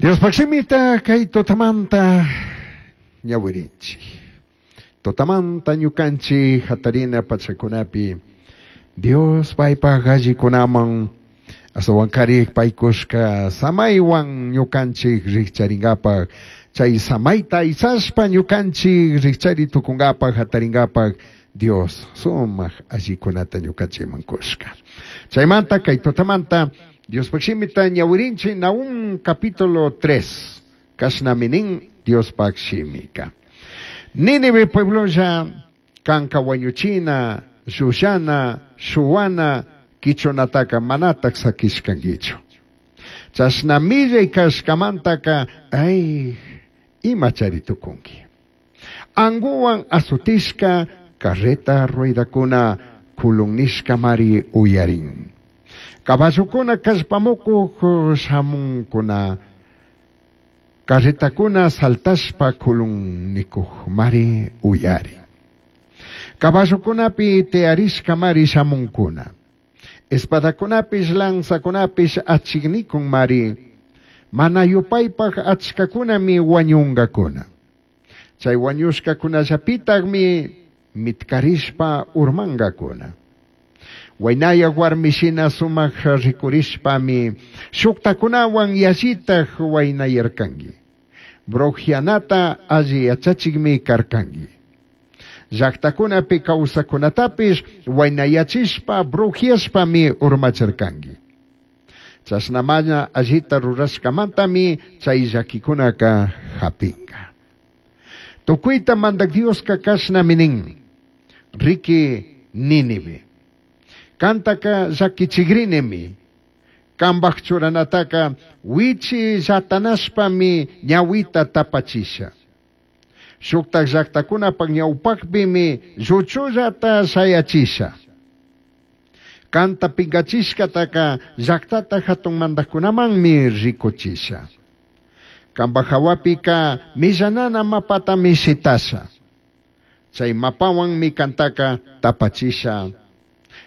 Diospaj shimita kay tutamanta ñawirinchik. Tutamanta ñukanchik hatarina pachakunapi Dios paypaj allikunaman ashtawankarik paykushka samaywan ñukanchik rikcharingapaj chay samayta aysashpa ñukanchik rikchari tukunkapaj hataringapaj Dios sumaj allikunata ñukanchikman kushka. Chaymanta kay tutamanta Diospaj shimita ñawirinchik Nahum capítulo 3 kashnami nin Diospaj shimika. Nínive pueblolla kanka wañuchina, llullana, shuwana, quichunataka manataj sakishkankichu. Chashna millay kashkamantaka ay imachari tukunki. Anguwan azotishka carreta ruedakuna kulunnishkamari uyarin. Caballokuna kallpamukuq shamunkuna carretakuna saltashpa kulunnikuqmari uyarin. Caballokunapi tiyarishkamari shamunkuna. Espadakunapish lanzakunapish achiknikunmari. Mana yupaypaj achkakunami wañunkakuna. Chay wañushkakunallapitaqmi mitkarishpa urmankakuna. Waynaya warmi shina sumaq rikurishpami shuktakunawan yallitaj waynayarkanki. Brujianata alli yachachikmi karkanki. Llaqtakunapi kawsakunatapish waynayachishpa brujiashpami urmachirkanki. Chashna mana allita rurashkamantami chay llakikunaka hapinka. Tukuyta mandak Dioska kashnami nin. Riki Nínive. Kantaka llakichikrinimi. Kambaj churanataka wichi llatanashpami ñawita tapachisha. Shuktak llaktakunapak ñawpakpimi lluchullata shayachisha. Kanta pinkachishkataka llaktata hatun mandakkunamanmi rikuchisha. Kambaj hawapika millanana mapatami shitasha. Chay mapawanmi kantaka tapachisha.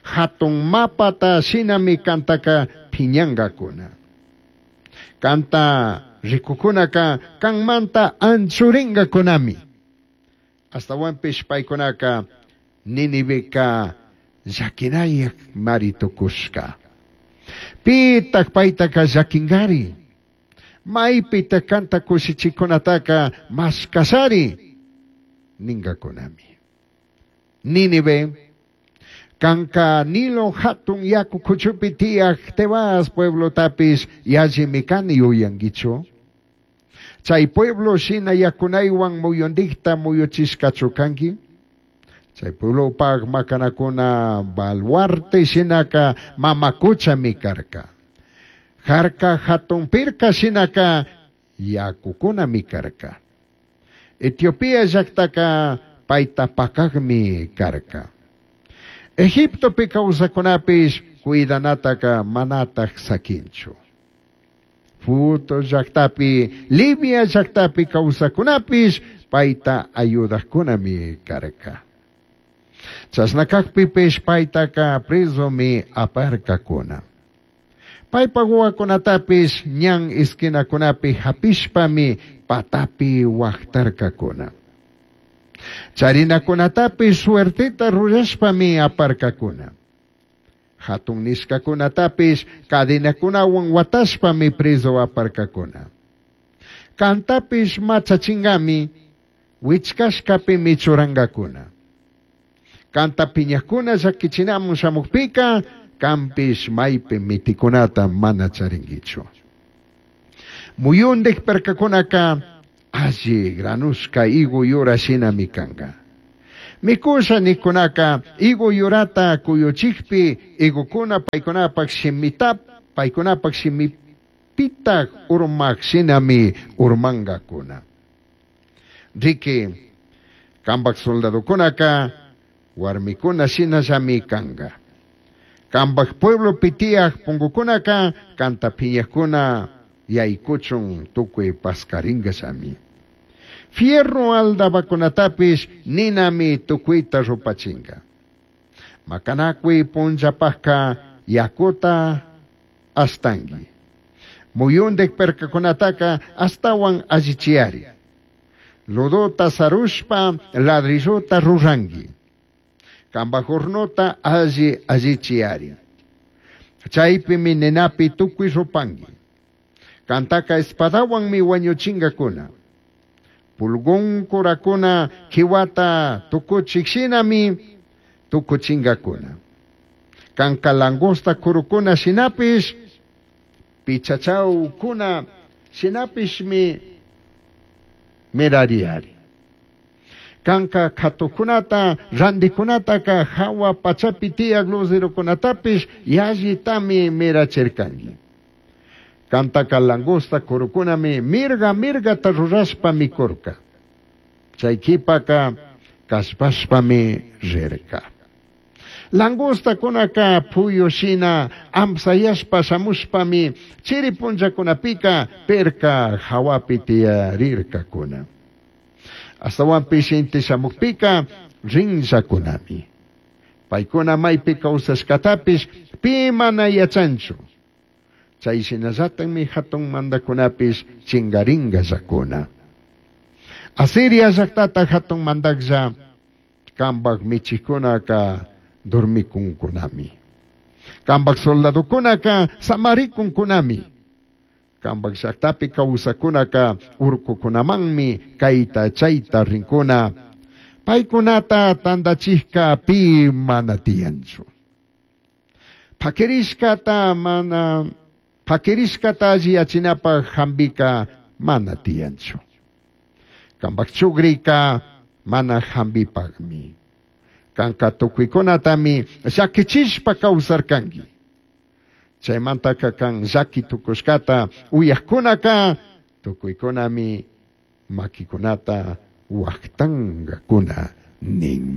Hatun mapata shinami kantaka phiñankakuna. Kanta rikukunaka kanmanta anchurinkakunami. Ashtawanpish paykunaka Niniveka llakinayak mari tukushka. Pitak paytaka llakinkari. Maypitak kanta kushichikunataka mashkashari ninkakunami. Nínive, kanka Nilo hatun yaku kuchupi tiyaj Tebas pueblotapish yallimi kani yuyankichu. Chay pueblo shina yakunaywan muyundikta muyuchishkachu kanki. Chay pueblopaj makanakuna baluarte shinaka mamakuchami karka. Jarka hatun pirka shinaka yakukunami karka. Etiopía llaktaka payta pakakmi karka. Egiptopi kawsakunapish cuidanataka manataj sakinchu. Futo llaktapi, Libia llaktapi kawsakunapish payta ayudajkunami karka. Chashna kakpipish paytaka presomi aparkakuna. Paypak wawakunatapish ñan esquinakunapi hapishpami patapi waktarkakuna. Charinakunatapish suerteta rurashpami aparkakuna. Hatun nishkakunatapish cadenakunawan watashpami preso aparkakuna. Kantapish machachingami wichkashkapimi churankakuna. Kanta piñakuna llakichinamun shamukpika kanpish maypi mitikunata mana charinkichu. Muyundik perkakunaka alli granushka higo yura shinami kanka. Mikusha nikunaka higo yurata kuyuchikpi higokuna paykunapak shimita paykunapak shimipitak urmak shinami urmankakuna. Riki kambak soldadokunaka warmikuna shinallami kanka. Kambak pueblopi tiyaj punkukunaka kanta piñakuna yaykuchun tukuy paskarinkallami. Fierro aldabakunatapish ninami tukuyta rupachinka. Makanakuy punllapajka yakuta ashtanki. Muyundij pircacunataca ashtahuan allichiyari. Lodota sarushpa ladrillota rurangui. Cambaj hornota alli allichiyari. Chaipimi ninapi tucui rupangui. Cantaca espadahuanmi huañuchingacuna. Pulgón curacuna quihuata tucuchij shinami tucuchingacuna. Canca langosta curucuna shinapish pichachaucuna shinapishmi mirariyari. Canca katucunata, randicunataca jahua pachapi tiyaj luzerokunatapish yallitami mirachircangui. Cantaca langosta curucunami mirga mirgata rurashpa micurca. Chay quipaka callpashpami rirca. Langostacunaca puyu shina amsayashpa shamushpami chiri punllakunapika pirca jahuapi tiyarircacuna. Ashtahuanpish inti shamujpika rinllacunami. Paicuna maipi causashcatapish pi mana yachanchu. Chay shinallatajmi jatun mandacunapish chingaringallacuna. Asiria llajtata jatun mandajlla cambaj michijcunaca dormicuncunami. Cambaj soldadocunaca samaricuncunami. Cambaj llajtapi causajcunaca urcucunamanmi caita chaita rincuna. Paicunata tandachijca pi mana tiyanchu. Paquirishcata mana paquirishcata alliyachinapaj jambika mana tiyanchu. Cambaj chugrika mana jambipajmi. Canca tucuicunatami llaquichishpa causarcangui. Chaymantaka can llaqui tucushcata uyajcunaka tucuicunami maquicunata huajtangacuna ninmi.